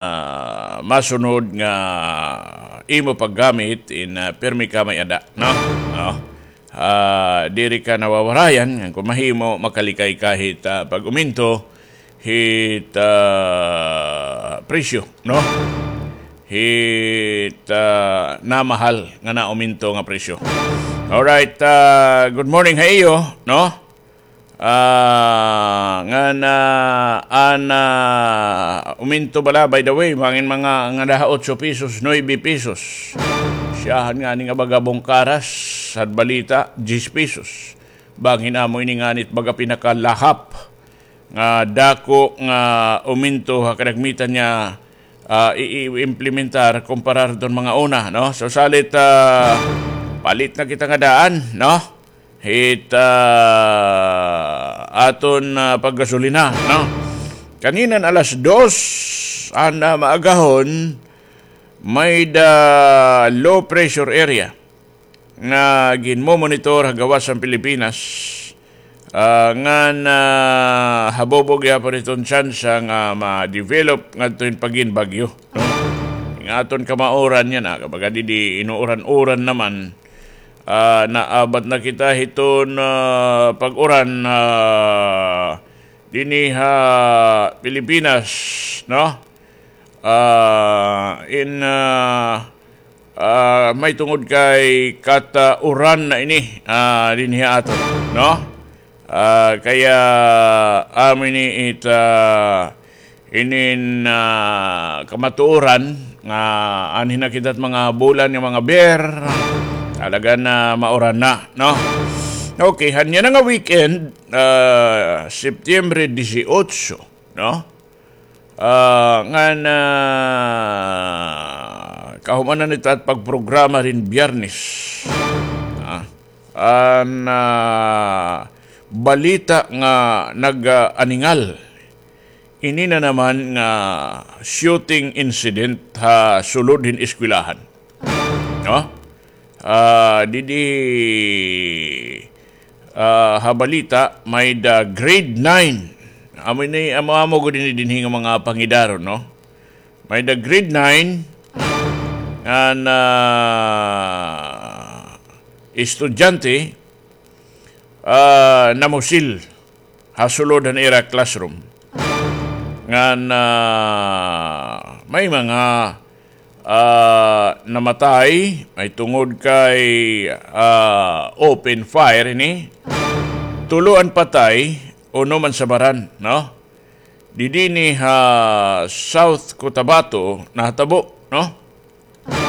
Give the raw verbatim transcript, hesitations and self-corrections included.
ah, masunod nga imo paggamit in, ah, pirmi ka may-ada, no? No? Ah, diri ka nawawarayan, ngan kon mahimo, makalikay ka hit, ah, pag-uminto hit, ah, presyo, no? Hit, ah, namahal nga nauminto nga presyo. Alright, ah, good morning ha iyo, no? Ah, ngan, ah, an, ah, uminto bala, by the way, bangin mga ngada ha otso pesos, nuebe pesos. Siyahan ngani nga baga bungkaras, had balita, diyes pesos. Bangin amo ini nganit baga pinakalahap nga dako nga uminto ha kadagmitan nga, ah, i-, i-implementar kumparar ton mga una, no? So, salit, ah, palit na kita nga daan, no? Hit, ah, aton, ah, paggasolina, no? Kaninan alas dos, an, ah, maagahon, may-ada low pressure area nga ginmomonitor ha gawas han Pilipinas, ah, ngan, ah, habobo gihapon iton tsansa nga ma-develop ngadto hin pagin bagyo, no? Nga aton kamauran yana, kumbaga didi inuuran-uran naman, ah, naabat na kita hiton, ah, pag-uran, ah, dinhi ha Pilipinas, no? Ah, in, ah, ah, may tungod kay kata-uran na ini, ah, dinhi ha aton, no? Ah, kaya, amo ini it, ah, inin, ah, kamatuoran nga anhi na kita hit mga bulan nga mga ber, talaga na mauran na, no? Okay, han yana nga weekend, ah, September dieciocho, no? Ah, ngan, ah, kahuman na nita it pagprograma rin Biyernes. Ah, an, ah, balita nga nag-aningal. Ini na naman nga shooting incident ha sulod hin eskwelahan. No? Ah, didi, ah, ha balita, may-ada grade nine. Amo ini, amo-amo gud ini dinhi nga mga pangidaron, no? May-ada grade nine, an, ah, estudyante, ah, namusil ha sulod han ira classroom. Ngan, ah, may mga, ah, namatay, may tungod kay, ah, open fire ini. Tulo an patay, unom an sabaran, no? Didi ini ha South Cotabato nahatabo, no?